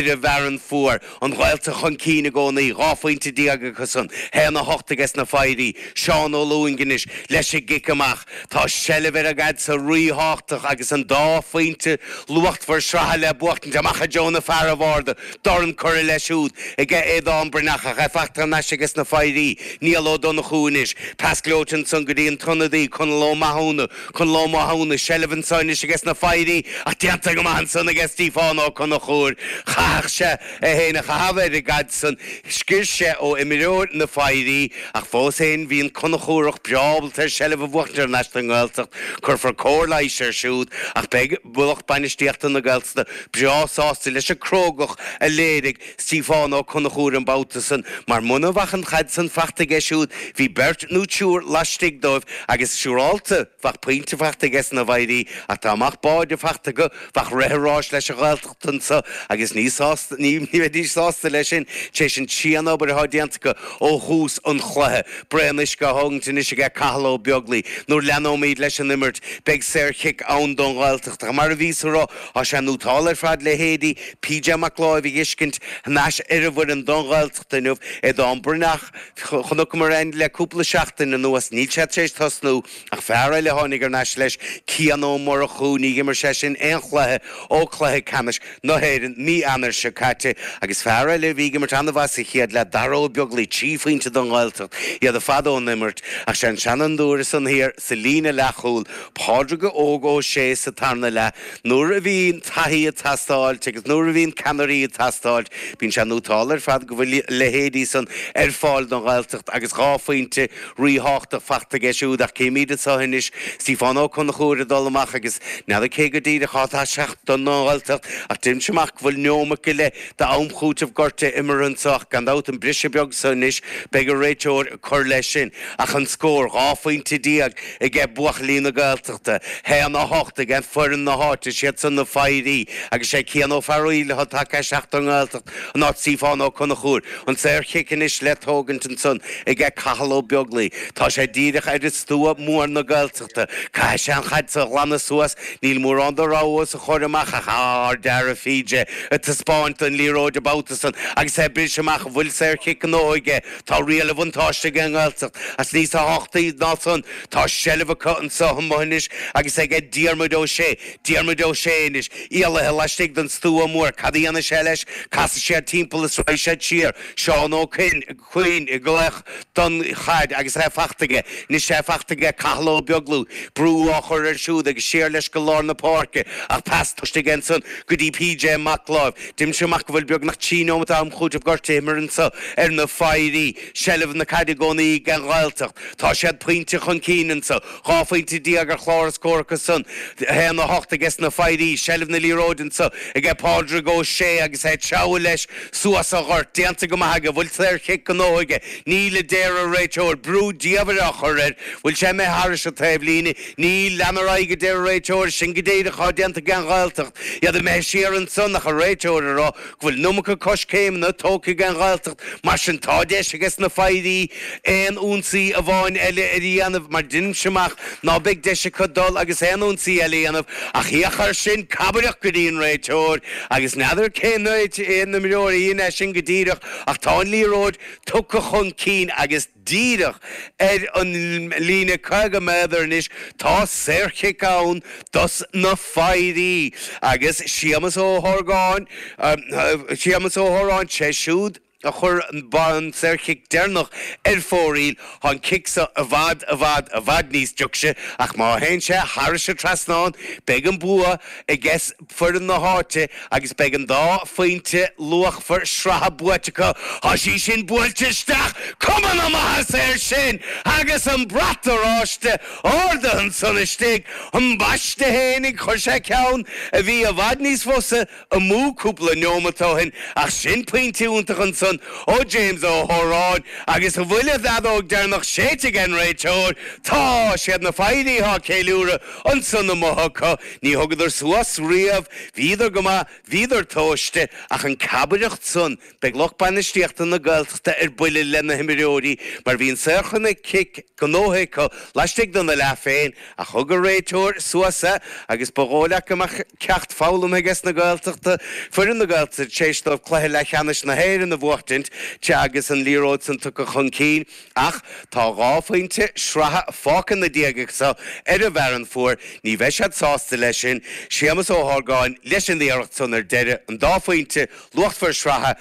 ar an bhFearann Fuar. An Ghaeltacht chun cinn i gcónaí, 12 phointe acusan, 1-8 ages na Foidhrí. Seán Ó Lúing anois leis an gcic amach. Tá seilbh ar an gcaid so ríthábhachtach agus an dá phointe luachtmhar sraithe le buachtaint amach i dtreo na fear an bharda. Dorn curtha leis siúd aige Aodán Breathnach ach é fachta thar n-ais ages na Foidhrí. Niall Ó Donnchú anois. Pas gleoite ansan go dtí an t-ionadaí, Conall Ó Mathúna. Conall Ó Mathúna, seilbh anso anois ages na Foidhrí ach déanta go maith ansan aige Stíofán Ó Conchúir. Chaithfeadh sé é féin a chaitheamh ar an gcaid san. Sciorr sé ó imreoir na Foidhrí ach fós féin bhí an Conchúrach breá ábalta ar seilbh a bhuachtaint thar n-ais don nGaeltacht. Cuirfear cóir leighis air siúd ach beidh lucht bainistíochta na Gaeltachta breá sásta leis an crógacht a léirigh Stíofán Ó Conchúir an babhta san, mar muna bheadh an chaid san fachta aige siúd, bhí beirt nó triúr laistigh dóibh agus siúrálta bheadh pointe fachta aige na bhFoidhrí ach dá mbeadh báide fachta acu bheadh rith an ráis leis an Ghaeltacht anso agus ní sásta, ní bheidís sásta leis sin tar éis an tsian-obair atá déanta acu ó thús an chluiche. Braon uisce á thógaint anois aige Cathal Ó Beaglaoi. Nuair leanóimid leis an imirt beidh saor-chic ann don Ghaeltacht ach mar a bhíos a rá, Tá sé nótálta ar fad leithéidí PJ Mac Láimh a fheiscint thar n-ais ar an bhfoireann don Ghaeltacht inniu. Aodán Breathnach, chonaiceamar é le cúpla seachtain anuas, níl sé tar éis tosnú ach fear eile a tháinig thar n-ais leis, Cian Ó Murchú, ní dh'imir sé sin aon chluiche ó cluiche ceannais na hÉireann mí Eanáir seo caite agus fear eile a bhí ag imirt an-mhaith sa chéad leath, Dara Ó Beaglaoi, 3 phointe don Ghaeltacht, iad ar fad ón imirt ach sé an seanfhondúir ansan thiar sa líne leathchúil, Pádraig Óg Ó Sé sa tarna leath, nuair a bhíonn taithí ag teastáilt agus nuair a bhíonn ceannairí ag teastáilt, bíonn sé nótálta ar fad go bhfuil a leithéidí san ar fáil don Ghaeltacht agus 2 phointe ríthábhachtach fachta aige siúd ach címid anseo anois Stiofán Ó Conchúir ag dul amach agus n'fheadar cé go díreach atá ag teacht don nGaeltacht ach deinimse amach go bhfuil neomat go leith d'am chúitimh gortaithe imeartha anseo ach gan dabht an briseadh beag seo anois beidh an réiteoir ag cur leis sin ach an scór, 12 phointe aige buachaillí na Gaeltachta, 1-8 aige foireann na háite, siad san na Foidhrí agus sé Cian Ó Fearghaíl atá tagtha isteach don nGaeltacht in áit Stiofán Ó Conchúir. An saor-chic anois le tógaint ansan aige Cathal Ó Beaglaoi. Tá sé díreach ar an stua mór na Gaeltachta. Caithfidh sé an chaid so a ghlanadh suas. Níl mórán de rogha os a chomhair amach ach ard-fhear PJ ag taispeáint don liathróid an babhta san agus é ag briseadh amach an bhfuil saor-chic gnóthaithe aige. Tá riail an bhuntáiste ag an nGaeltacht ach níos tábhachtaí ná san, tá seilbh acu anseo amuigh anois agus aige Diarmuid Ó Sé. Diarmuid Ó Sé anois, éalaithe laistigh den stua mór. Cad a dhéanfaidh sé leis? Casfaidh siad timpeall is raghaidh siad siar. Seán Ó Cuinn ag glaoch don chaid agus é fachta aige. Anois é fachta aige Cathal Ó Beaglaoi. Brú á chur air siúd agus siar leis go lár na páirce ach pas tomhaiste aige ansan go dtí PJ Mac Láimh. Deinimse amach go bhfuil beagnach 3 neomat am chúitimh gortaithe imeartha anso ar na Foidhrí. Seilbh na caide i gcónaí ag an Ghaeltacht. Tá siad pointe chun cinn anso. 12 phointe ar chlár a scór acu san. 1-8 aige na Foidhrí. Seilbh na liathróide anso aige Pádraig Ó Sé agus é ag treabhadh leis suas an gort. Déanta go maith aige. Bhfuil saor-chic gnóthaithe aige? Níl, a deir an réiteoir. Brú diamhair á chur air. Bhfuil sé imithe thairis an taobhlíne? Níl, lean ar aghaidh, a deir an réiteoir, sin go díreach atá déanta ag an Ghaeltacht. Iad imithe siar ansan ach an réiteoir ag rá go bhfuil an iomarca coiscéimeanna tógtha ag an Ghaeltacht. Mar sin tá deis ages na Foidhrí aon ionsaí amháin eile a dhéanamh mar deinimse amach ná beidh deis acu dul agus aon ionsaí eile a dhéanamh ach féach air sin, cabaireacht go dtí an réiteoir agus n'fheadar cén imreoir a dhein é sin go díreach ach tá an liathróid tugtha chun cinn agus Díreach ar an líne 50 méadar anois tá saorchic ann dos na Foidhrí agus Séamus Ó hOrgáin, Séamus Ó hOráin, sé siúd a chuir an saorchic deireanach ar fóraoil. Tá an cic seo i bhfad, i bhfad, i bhfad níos deoise ach má théann sé thairis an trasnán beidh an bua aiges foireann na háite agus beidh an dá phointe luachmhar sraithe buaite acu. Tá sí sin buailte isteach! Cuma na maitheasa air sin! Agus an brat oráiste ardaithe ansan istigh. Ambaiste fhéinig, chuir sé ceann a bhí i bhfad níos fusa amú cúpla neomat ó shin ach sin pointe iontach ansan. ansan ó James Ó hÓráin agus an bhfuil an fheadóg deireanach séidte ag an réiteoir? Tá! Siad na Foidhrí atá ag ceiliúradh ansan amuigh acu. Ní thugadar suas riamh. Bhíodar go maith, bhíodar tomhaiste, ach an cabaireacht san, Beidh lucht bainistíochta na Gaeltachta ar buile le na himreoirí mar bhí an saorchic gnóthaithe acu laistigh de na leath féin ach thug an réiteoir suas é agus ba dhóigh leat go mbeadh ceacht foghlamtha aige sna Gaeltachta, foireann na Gaeltachta tar éis dóibh cluiche leathcheannais na hÉireann a bhuachtaint agus an liathróid san tugtha chun cinn. Ach tá 12 phointe sraithe fágtha na diaidh seo ar an bhFearann Fuar. Ní bheidh siad sásta leis sin. Séamus Ó hArgáin leis an iarracht san ar deireadh, an dá phointe luachmhar sraithe.